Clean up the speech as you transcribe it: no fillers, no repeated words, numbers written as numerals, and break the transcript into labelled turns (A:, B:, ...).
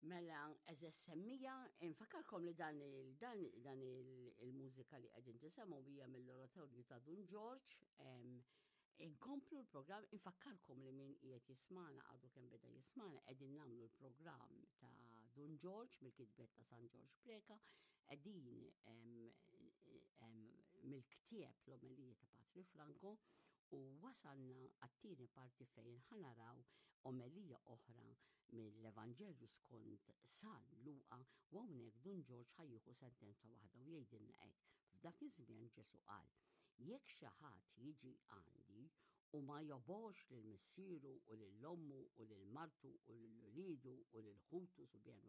A: Mela, eżes semmija, infakarkom li dan il, dan, dan il-mużika li qegħdin tisemgħu hija mill-oratorju ta' Dun Ġorġ. Inkomplu l-programm, infakkarkom li min qiegħed jismana għadu kemm beda jismana qegħdin nagħmlu l-programm ta' Dun Ġorġ mill-kitbet ta' San Ġorġ Preka, qegħdin mill-ktieb l-omelija ta' Patri Franco u wasalna għat-tieni parti fejn ħanaraw omelija oħra mill-Evanġelju skont San Luqa u hawnhekk Dun Ġorġ ħajjieħu sentenza waħda u jgħidilna hekk. F'dak iż-żmien Ġesu qal, jekk xi ħadd jiġi għandi u ma jobgħodx lil missieru u lil ommu u lil martu u lil uliedu u lil ħutu subien u